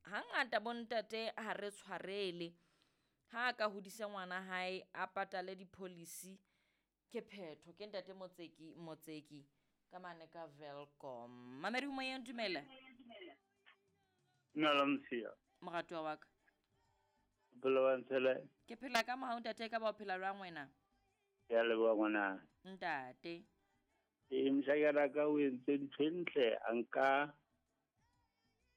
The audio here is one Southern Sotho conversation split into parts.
Hangata bontate ha re tshwarele. Ha a ka hodisa ngwana hae a patale di-policy ke phetho. Ke ntate Motseki Motseki ka mane ka Welkom. Mamedi moyeng dumela. Dumela Mosiya. Moratuwa wa ka. Bophelo ba ntshele. Ke phela ka mohau ntate ka ba o phela jwang wena? Ke a leboha ngwana. Ntate. Ee, moshanyana ka o entse ntho e ntle a nka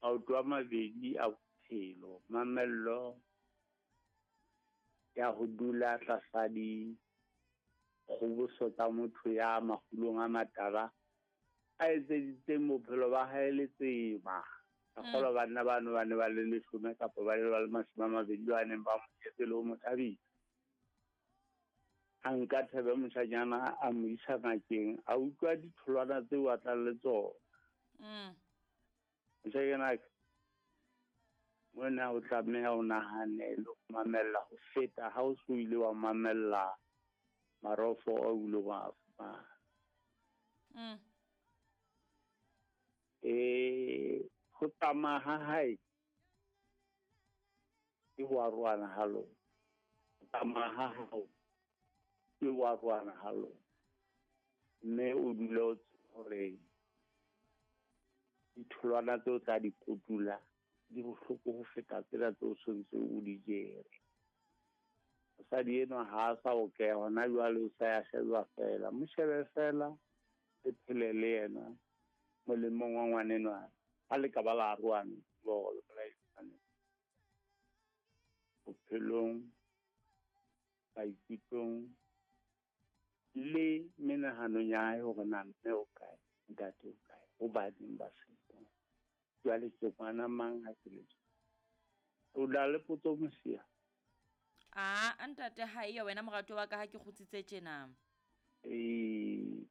maoto a mabedi a bophelo, mamello ya ho dula tlasa dikgoboso tsa motho ya makgulong a matala a etseditseng bophelo ba hae letsema. Ka kgolwa banna bano ba ne ba le leshome kapa ba le ba le 20 ba neng ba mo jetse le ho mo thabisa. A nka thebe moshanyana a mo isa ngakeng, a utlwa ditholwana tseo a tlang le tsona. Moshanyana mona o tlameha o nahane le ho mamella ho feta ha o so ile wa mamella marofo a o ileng wa a fumana. Ho tsamaya ha hae ke ho arohana ha lona. Ho tsamaya ha hao ke ho arohana ha lona. Mme o dule o tseba hore ditholwana tseo tla di kotula di bohloko ho feta tsena tseo tshwanetse o di jere. Mosadi enwa ha a sa okeha hona jwale, o sa ya sheba fela. Mo shebe fela, le phele le yena molemong wa ngwanenwa. Ha le ka ba la arohana, tseba hore le bolaisane bophelong, maikutlong le menahanong ya hae hore na mme o kae, ntate o kae, hobaneng ba seko. Jwale ke ngwana mang ha ke le tje? O na le potso Mosiya? A ntate ha eyo wena moratuwa wa ka ha ke kgutsitse tjena. Ee,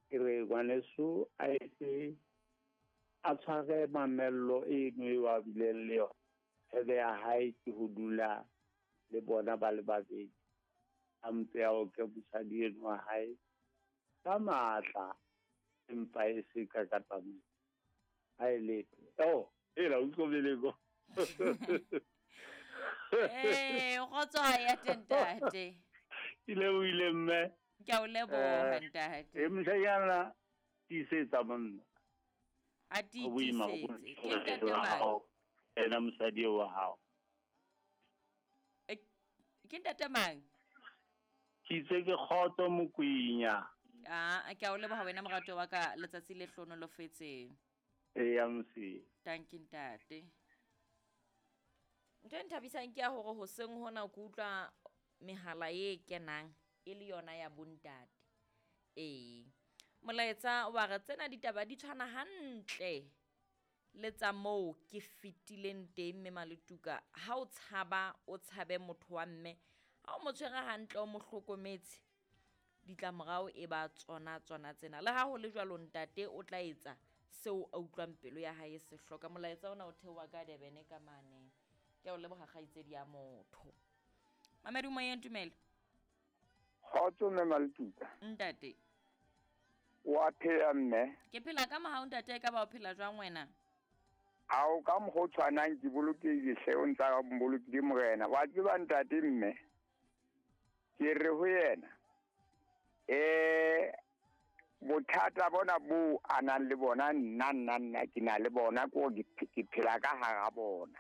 ke re ngwaneso a etse a tshware mamello eno eo a bileng le yona. Thebe ya hae ke ho dula le bona ba le babedi. A mpe a oke mosadi eno wa hae ka matla, empa e se ka ka tsamaiso. Ha e letho. Oh, ela o utlwile ko. Ee, kgotso ha ya teng ntate. Ke lebohile mme. Ke a o leboha ntate. Moshanyana tiisetsa monna. A tiisetse. Ke ntate mang? Ena mosadi eo wa hao. Ke ntate mang? Ke itse ke kgotso Mokwenya. Ah, ke a o leboha wena moratuwa wa ka, letsatsi le hlohonolofetseng. Eya Mosiya. Thank you ntate. Ntho e nthabisang ke ya hore hoseng hona ke utlwa mehala e kenang e le yona ya bontate. Ee. Molaetsa wa re tsena ditaba di tshwana hantle le tsa moo ke fetileng teng mme Maletuka. Ha o tshaba o tshabe motho wa mme, ha o mo tshwere hantle o mo hlokometse, ditlamorao e ba tsona tsona tsena. Le ha ho le jwalo ntate o tla etsa seo a utlwang pelo ya hae se hloka. Molaetsa ona o theoha ka Durban ka mane. Ke a o leboha kgaitsedi ya motho. Mamedi moyeng dumela. Kgotso mme Maletuka. Ntate. Wa phela mme? Ke phela ka mohau ntate, ka ba o phela jwang wena? Ao ka mokgwa o tshwanang ke bolokehile hle, o ntsa mbolokile morena. Wa tseba ntate mme, ke re ho yena, bothata bona bo a nang le bona, nna, nna, nna ke na le bona, ke hore ke phela ka hara bona.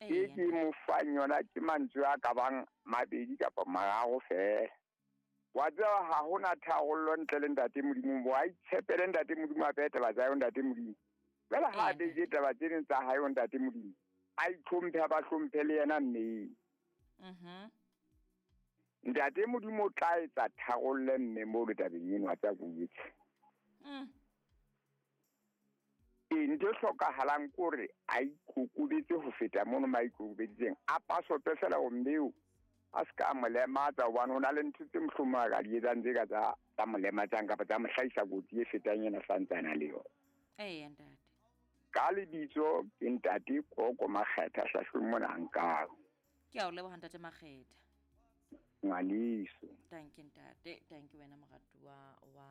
Ke ke mo fang yona ke mantswe a ka bang mabedi kapa mararo feela. Wa tseba ha hona tharollo ntle le ntate Modimo, bo a itshepele ntate Modimo, a behe taba tsa hae ntate Modimo. Jwale ha a behile taba tse ding tsa hae ho ntate Modimo, a itlhomphe, a ba hlomphe le yena mme. Ntate Modimo o tla etsa tharollo mme mo le tabeng eno, a tsa botse. Ee, ntho e hlokahalang ke hore a ikokobetse ho feta mono ma ikokobeditseng. A pasope fela ho mmeo, a se ka mo lematsa, hobane ho na le ntho tse mohlomong a ka di etsang tse ka tsa mo lematsang kapa tsa mo hlahisa kotsi e fetang ena santsana le yona. Ee, ntate. Ka lebitso ke ntate Koko Makgetha hlahlong mona nkang. Ke a o leboha ntate Makgetha. Ngwaneso. Thank you ntate, thank you wena moratuwa wa